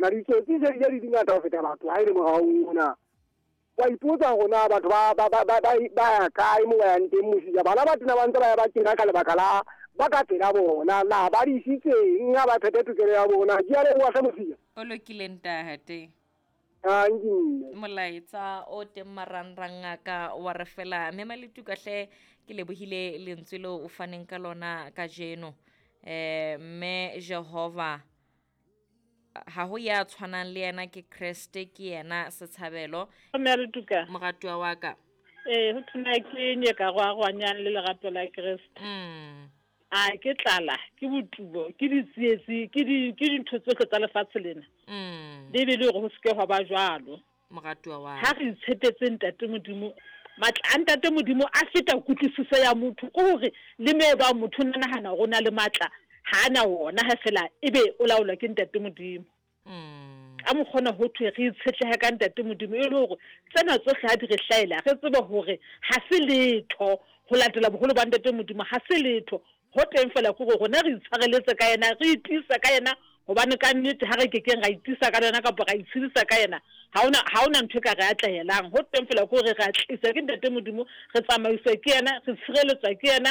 Na ditsotsi se di di ngata ho feta batho ha e le moraong mona. Wa ipotsa hore na batho ba ba ba ba ba ya kae mo ba yang teng mosija. Bana ba tena ba ntse ba ya ba kena ka lebaka la ba ka pela bona. Na ba di isitseng ha ba phethe tokelo ya bona. Ke a leboha hle mosija. O lokile ntate. Tanki mme. Molaetsa o teng marangrang a ka wa re fela mme Maletuka hle ke lebohile lentswe leo o faneng ka lona kajeno. Eh mme Jehova ha ho ya tshwanang le yena ke Kreste ke yena setshabelo. Mme Letuka. Moratuwa wa ka. Ee, ho thona ke nyeka go arwanyang le lerato la Kreste. A ke tlala, ke botubo, ke ditsietsi, ke di ke dintho tsohle tsa lefatshe lena. Bibele e re ho se ke hwa ba jwalo. Moratuwa wa Ha re itshepetse Ntate Modimo, matla a Ntate Modimo a feta kutlwisiso ya motho. Ke hore le me bang motho o na nahana hore o na le matla, ha a na wona ha fela ebe o laolwa ke Ntate Modimo. Ka mokgwa ona ho thwe re itshetlehe ka Ntate Modimo e le hore tsena tsohle ha di re hlahela re tsebe hore ha se letho ho latela boholo ba Ntate Modimo, ha se letho. Ho teng feela ke hore rona re itshwareletse ka yena, re itiisa ka yena hobane ka nnete ha re kekeng ra itiisa ka yena kapa ra itshedisa ka yena, ha hona, ha hona ntho e ka re atlehelang. Ho teng feela ke hore re a tliswa ke Ntate Modimo, re tsamaiswa ke yena, re tshireletswa ke yena.